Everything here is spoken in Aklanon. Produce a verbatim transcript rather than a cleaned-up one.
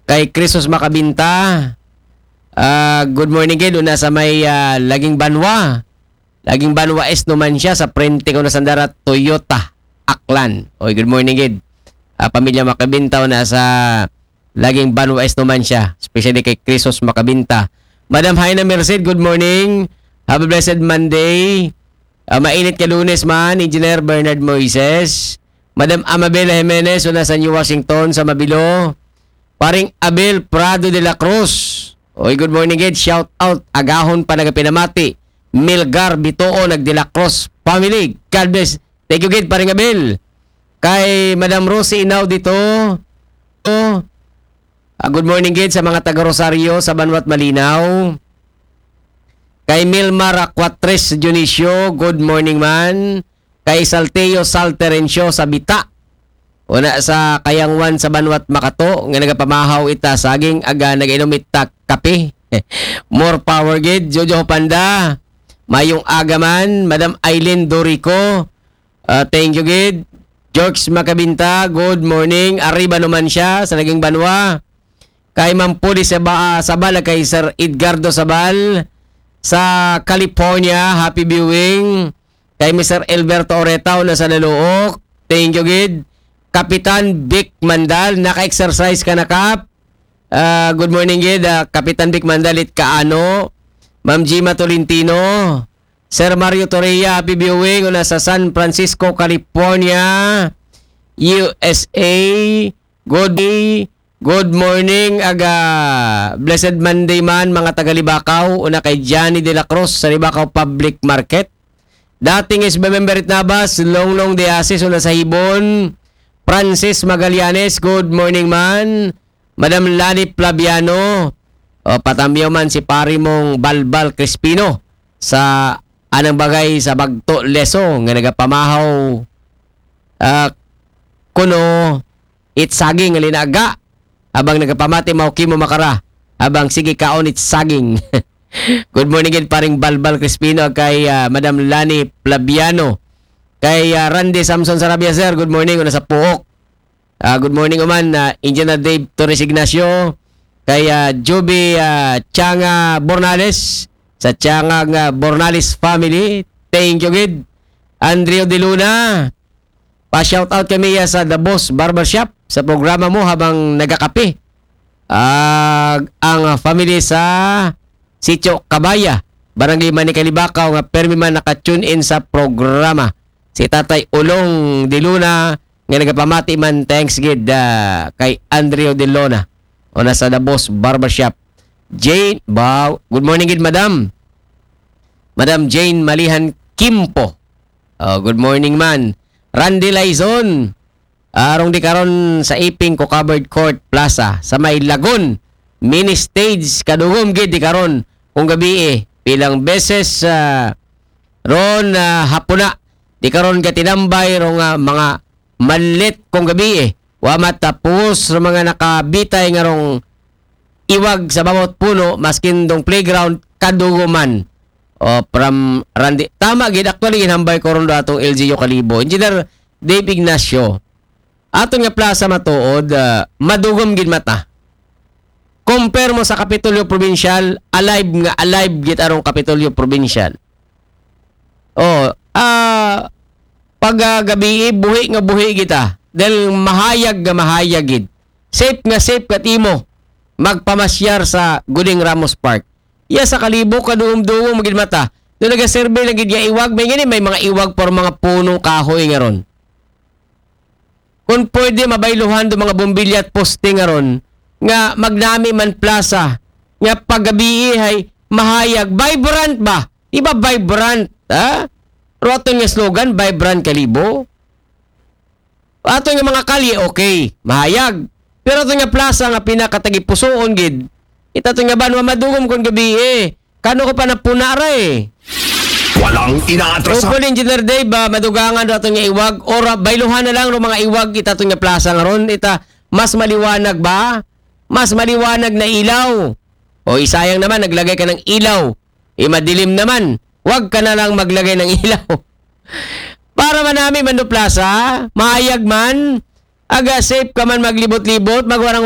Kay Crisos Makabinta. Ah, good morning gid, una sa may, ah, Laging Banwa. Laging Banwa East naman siya, sa prente ko na sandara Toyota, Aklan. Oy, good morning gid. Ah, pamilya Makabinta, una sa Laging Banwa East naman siya, especially kay Crisos Makabinta. Madam Haina Merced, good morning. Have a blessed Monday. Ah, mainit ka Lunes man, Engineer Bernard Moises. Madam Amabela Jimenez, una sa New Washington, sa Mabilo. Paring Abel Prado de la Cruz. Oy, good morning, gid. Shout out. Agahon pa nagapinamati. Milgar Bitoon nag de la Cruz family. God bless. Thank you, gid, Paring Abel. Kay Madam Rosie Inaw dito. Oh. Ah, good morning, gid, sa mga taga Rosario, sa Banwat Malinaw. Kay Milmar Aquatres Dionisio, good morning man. Kay Salteo Salterencio sa Bita. Una sa Kayangwan sa Banwat Makato, nga nagapamahaw ita saging aga nagainom ita kape. More power gid, Jojo Panda. Mayong aga man, Madam Aileen Dorico. Ah, thank you gid. George Makabinta, good morning. Arriba naman siya sa Laging Banwa. Kay Ma'am Pudi Saba-, Sabal, kay Sir Edgardo Sabal sa California, happy viewing. Kay Mister Alberto Oreta, una sa Laluok, thank you gid. Kapitan Vic Mandal, naka-exercise ka na, Kap? Ah, good morning gid, ah, Kapitan Vic Mandal it kaano. Ma'am Gima Tolentino, Sir Mario Torreya, happy viewing, una sa San Francisco, California, U S A. Good day. Good morning, aga. Blessed Monday man, mga taga Libacao. Una kay Johnny de la Cruz sa Libacao Public Market. Dating is member it Nabas, Longlong de Asis, una sa Hibon. Francis Magallanes, good morning man. Madam Lani Plaviano, o, patamyaw man si pari mong Balbal Crispino sa anang bagay sa Bagto Leso nga nagapamahaw, ah, kuno it saging nga linaga. Abang nagapamati, mao kimo makara. Abang sige kaon it saging. Good morning gid, Paring Balbal Crispino, kay, ah, Madam Lani Plaviano. Kay, ah, Randy Samson Sarabia, sir, good morning, una sa Puok. Ah, good morning uman, ah, Engineer Dave Torres Ignacio. Kay, ah, Joby, ah, Changa Bornales, sa Changa nga Bornales family. Thank you gid. Andrew De Luna, pa-shout out kami, ah, sa The Boss Barbershop sa programa mo habang nagakape. Ah, ang, ah, family sa Sitio Kabaya, Barangay Manicalibacaw, nga permi man naka-tune in sa programa. Si Tatay Ulong De Luna, nga nagapamati man, thanks gid, ah, kay Andrew De Luna. O, nasa The Boss Barbershop. Jane, ba, good morning gid, madam. Madam Jane Malihan Kimpo. Oh, good morning man. Randy Laison. Arong di karon sa Iping ko Covered Court Plaza sa may Lagun. Mini stage kadugom gid di karon kung gabi eh. Pilang beses, ah, ron, ah, hapuna. Di karon gatinambay rong, ah, mga manlit kung gabi eh. Wa matapos rong mga nakabitay nga rong iwag sa bawat puno, maskin dong playground, kaduguman. O, from Randy. Tama gid, actually, ginhambay ko ron do atong L G U Kalibo. Engineer Dave Ignacio, aton nga plaza matuod, ah, madugom gid mata. Compare mo sa Kapitolyo Provincial, alive nga alive gid arong Kapitolyo Provincial. Oh, ah, pag, ah, gabi, buhi nga buhi kita. Dahil mahayag nga mahayag gid. Safe nga safe ka timo magpamasyar sa Guling Ramos Park. Iya sa Kalibo, kadugom-dugom gid mata. Doon nagasurvey lang gid nga iwag, may gani, may mga iwag para mga punong kahoy nga ron. Kung pwede, mabayluhan do mga bombilya at poste nga ron, nga magnami man plaza, nga paggabi hay mahayag, vibrant ba? Di ba vibrant, ha? Pero aton nga slogan, vibrant Kalibo. Aton nga mga kalye, okay, mahayag. Pero aton nga plaza nga pinakatagipusoon gid, ita aton nga banwa madugom kon gabi eh. Kano ko pa napuna ra eh. Walang inaatrasan. Hopefully, Engineer Dave, ah, madugangan do aton nga iwag or, ah, bayluhan na lang ro mga iwag ita aton nga plaza nga ron. Ita, mas maliwanag ba? Mas maliwanag na ilaw. O, isayang naman, naglagay ka ng ilaw. Eh, madilim naman. Wag ka na lang maglagay ng ilaw. Para manami man do plaza, mahayag man, aga safe ka man maglibot-libot, magwarang